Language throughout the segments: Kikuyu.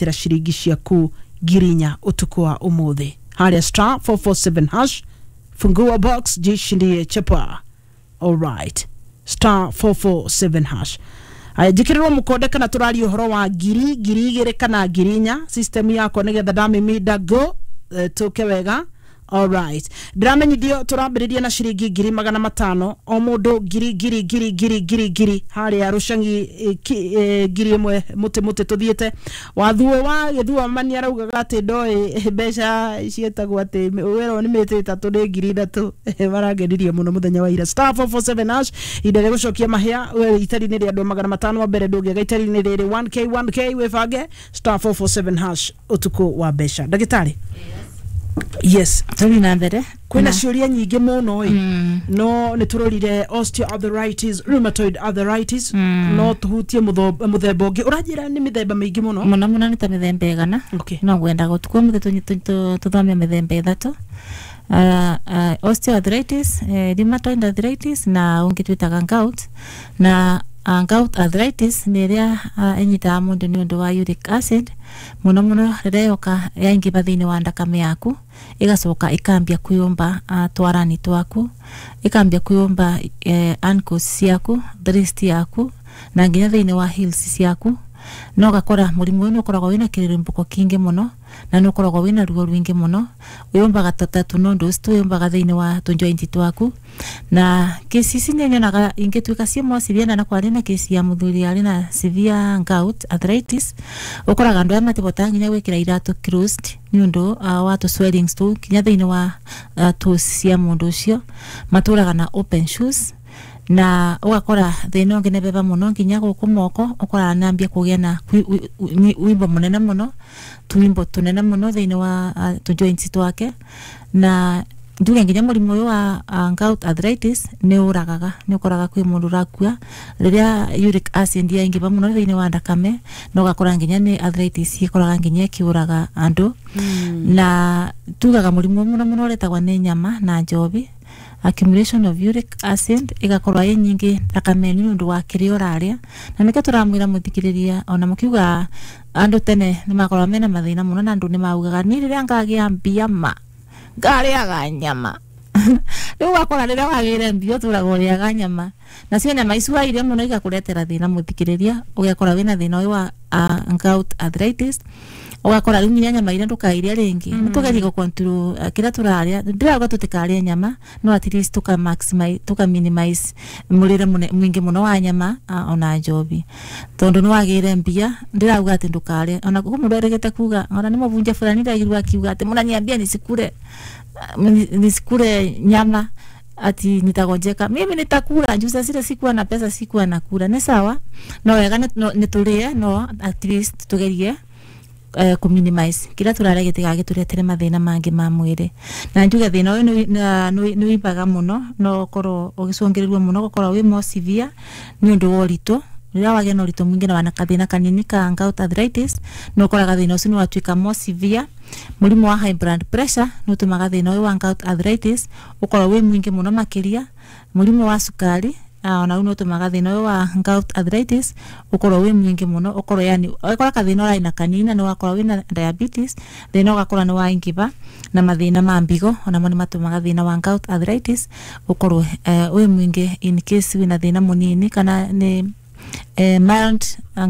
Tira ciringi ciaku 4,000 utuku wa umuthi haria star 447 hash, fungua box, jishindie chapa. Alright, star 447 hash. Aya, njikĩrĩrwo mũkonde kana tũraria ũhoro wa ngiri, 2,000 kana 4,000 system yakwa nĩgetha ndamĩminda go tũke wega. Alright, ndĩramenyithio tũrambĩrĩria na ciringi 500,000 o mũndũ, ngiri ngiri ngiri ngiri ngiri ngiri harĩa rũcang'i, 1,000 mũtĩ mũtĩ tũthiĩte wathuo wa gĩthua mani araugaga atĩ ndoĩ mbeca ciĩtagwo atĩ werwo nĩ mĩtĩ 3 nĩ 3,000. Marangenirie mũno mũthenya wa ira. Star 447 hash, ihinda rĩa gũcokia mahĩa we itari-inĩ rĩa andũ 500 wa mbere ndũngĩaga itari-inĩ rĩrĩ 1K 1K wĩbange star 447 hash ũtukũ wa mbeca. Ndagĩtarĩ, yes. Tũthiĩ na mbere. Kwĩna ciũria nyingĩ mũno ĩ, no nĩ tũrorire osteoarthritis, rheumatoid arthritis, no tũhutie mũthemba ũngĩ ũranjĩra nĩ mĩthemba mĩingĩ mũno. Mũno mũno nĩ ta mĩthemba 100. No ngwendaga ũtukũ ũmũthĩ tũthome mĩthemba 3: osteoarthritis, rheumatoid arthritis na ũngĩ twĩtaga gout. Na gout arthritis nĩ ĩrĩa ĩnyitaga mũndũ nĩ ũndũ wa uric acid mũno mũno, rĩrĩa yoka yaingĩba thĩinĩ wa ndakame yaku, ĩgacoka ĩkambia kwĩyũmba twarani twaku, ĩkambia kwĩyũmba ankles ciaku, wrist yaku na nginya thĩinĩ wa heels ciaku. Na ũgakora mũrimũ ũyũ nĩ ũkoragwo wĩna kĩrĩrĩmbũko kĩingĩ mũno na nĩ ũkoragwo wĩna ruo rũingĩ mũno. Wĩyũmbaga ta tũnondos, twĩyũmbaga thĩinĩ wa tũjoint twaku. Na kesi ici nĩ nyonaga ingĩtuĩka ciĩ more severe, na kwarĩ na kesi ya mũthuri arĩ na severe gout arthritis. Ũkoraga andũ aya matibotaga nginya gwĩkĩra iratũ closed nĩ ũndũ wa tũ swellings tũu nginya thĩinĩ wa toes cia mũndũ ũcio. Matũraga na open shoes. Na ũgakora thĩna ũngĩ nĩ beba mũno nginya gũkũ moko, ũkoraga nambia kũgĩa na wimbo mũnene mũno, tuwimbo tũnene mũno thĩinĩ wa tũ joints twake. Na njuge nginya mũrimũ ũyũ wa gout arthritis nĩ ũragaga, nĩ ũkoraga kwĩ mũndũ ũrakua rĩrĩa uric acid yaingĩba mũno thĩinĩ wa ndakame, na ũgakora nginya nĩ arthritis ĩkoraga nginya ĩkĩũraga andũ. Na tugaga mũrimũ mũno mũno ũretagwo nĩ nyama na njobi, accumulation of uric acid ĩgakorwo ĩ nyingĩ thakame nĩ ũndũ wa kĩrĩa ũrarĩa. Na nĩkĩo tũramwĩra mũthikĩrĩria, ona mũkiuga andũ tene nĩ makoragwo mena mathĩna mũno, na andũ nĩ maugaga niĩ rĩrĩa ngagĩa mbia ma ngarĩaga nyama. Rĩu ũgakora rĩrĩa wagĩire mbia ũtũraga ũrĩaga nyama, nacio nyama ici wairia mũno igakũretera thĩna mũthikĩrĩria, ũgekora wĩna thĩna ũyũ wa gout arthritis. Ũgakora rĩu nginya nyama iria ndũkairia rĩngĩ. Nĩ tũgerie gũ control kĩrĩa tũrarĩa. Ndĩrauga tũtikarĩe nyama, no at least tũka maximize, tũka minimize mũrĩre mũingĩ mũno wa nyama ona njobi, tondũ nĩ wagĩire mbia. Ndĩrauga atĩ ndũkarĩe, ona kũ mũndũ erĩgĩte kuga, ona nĩ mũbunja fulani ndagirwo akiuga atĩ mũnaniambia nisikule nisikule nyama ati nitagonjeka. Mimi nitakula juu sasa zile sikuwa na pesa, sikuwa nakula. Nĩ sawa, no wega nĩ tũrĩe, no at least tugerie kũ minimize kĩrĩa tũrarĩa gĩtigagĩtũretere mathĩna mangĩ ma mwĩrĩ. Na njuge thĩna ũyũ nĩ wĩimbaga mũno, no ũkorwo ũgĩcũngĩrĩrio mũno gũkorwo wĩ more severe nĩ ũndũ wa ũritũ. Rĩrĩa wagĩa na ũritũ mũingĩ na wana kathĩna kanini ka gout arthritis, nĩ ũkoraga thĩna ũcio nĩ watuĩka more severe. Mũrimũ wa high blood pressure nĩ ũtũmaga thĩna ũyũ wa gout arthritis ũkorwo wĩ mũingĩ mũno makĩria. Mũrimũ wa cukari ona rĩu nĩ ũtũmaga thĩna ũyũ wa gout arthritis ũkorwo wĩ mũingĩ mũno, ũkorwo yani ũgakora kathĩna ũrarĩ na kanini na nĩ wakorwo wĩna diabetes, thĩna ũgakora nĩ waingĩba. Na mathĩna ma mbigo onamo nĩ matũmaga thĩna wa gout arthritis ũkorwo wĩ mũingĩ in case wĩna thĩna mũnini kana nĩ mild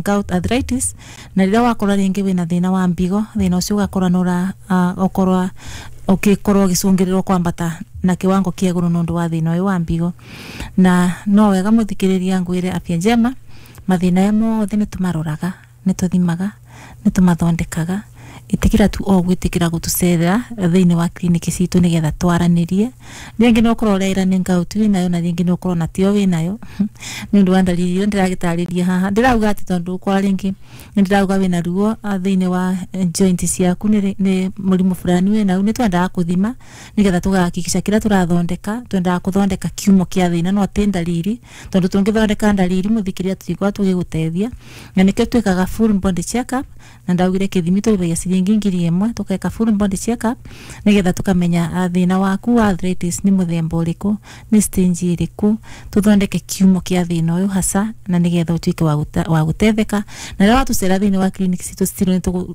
gout arthritis. Na rĩrĩa wakorwo rĩngĩ wĩna thĩna wa mbigo, thĩna ũcio ũgakora nĩ ũra ũkorwo ũgĩkorwo ũgĩcũngĩrĩrwo kwambata na kiwango kĩa igũrũ nĩ ũndũ wa thĩna ũyũ wa mbigo. Na no wega mũthikĩrĩria ngwĩre Afya Njema mathĩna aya mothe nĩ tũmaroraga, nĩ tũthimaga, nĩ tũmathondekaga. Ĩtĩkĩra tu o gwĩtĩkĩra gũtũcerera thĩinĩ wa kliniki citũ nĩgetha twaranĩrie. Rĩngĩ no ũkorwo ũreira nĩ gout wĩnayo, na rĩngĩ no ũkorwo na tiyo wĩnayo nĩ ũndũ wa ndariri iria ndĩragĩtarĩria haha. Ndĩrauga atĩ tondũ ũkora rĩngĩ nĩ ndĩrauga wĩna ruo thĩinĩ wa joint ciaku nĩ mũrimũ fulani wĩnau, nĩ twendaga kũthima nĩgetha tũgahakikisha kĩrĩa tũrathondeka, twendaga kũthondeka kiumo kĩa thĩna no ti ndariri, tondũ tũngĩthondeka ndariri mũthikĩrĩria tũtikorwo tũgĩgũteithia. Na nĩkĩo twĩkaga full body check up, na ndaugire kĩthimi tũrĩhagia. ciringi 1,000 tukeka full body check up nigetha tukamenya thina waku wa arthritis ni muthemba uriku, ni stage iriku, tuthondeke kiumo kia thina uyu hasa na nigetha utuike wa gutetheka. Na rĩrĩa watucera thĩinĩ wa clinic citũ still nĩ tũgũ